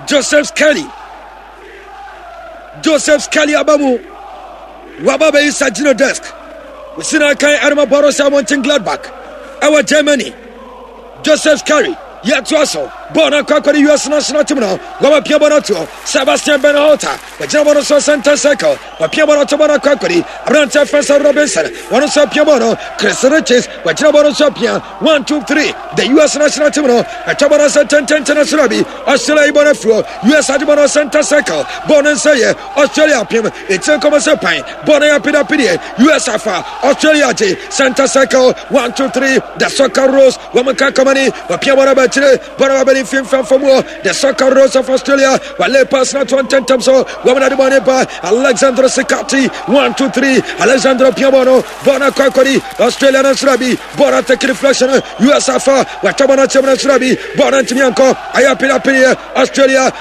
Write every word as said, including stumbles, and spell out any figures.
Joseph Skelly, Joseph Skelly aba mu, waba bɛyi Sergino Desk wosi na kan ɛrema Borussia Mönchengladbach ɛwɔ Germany. Joseph Skelly yɛtoa so, bɔɔl no akɔ akɔde U S national team no, wɔba pia bɔ no toɔ. Sebastian Berhalter wɔgyina bɔ no so center circle, wɔpia bɔ no to, bɔ no akɔ akɔde aberanteɛ fɛn Robinson, wɔno nso apia bɔ no. Chris Richards wɔgyina bɔ no so apia. One, two, three, the U S national team no ɛtwa bɔ no sɛ tɛntɛntɛn no soro bi. Australia yi bɔ no afiri U S agye bɔ no center circle, bɔɔl no nsa yɛ Australia apem ɛkyerɛ nkɔmɔ sɛ pan bɔɔl no yɛ apedapedeɛ. U S afa, Australia gye center circle. One, two, three, the Socceroos wɔn ka kɔmani, wɔpia bɔ no bɛkyerɛ, bɔ no bɛbɛni mfimfini fam hɔ. The Socceroos of Australia wɔle pass na to ntɛntɛm so, wɔn na de bɔ ne ba Alexandro Sikati. One, two, three, Alexandro pia bɔ no, bɔɔl no akɔ akɔdi Australia no nsoro bi, bɔɔl no take deflection. U S afa, wɔatwa bɔ no akyɛm no nsoro bi, bɔɔl no ntumi ankɔ, ayɛ apedapedeɛ Australia.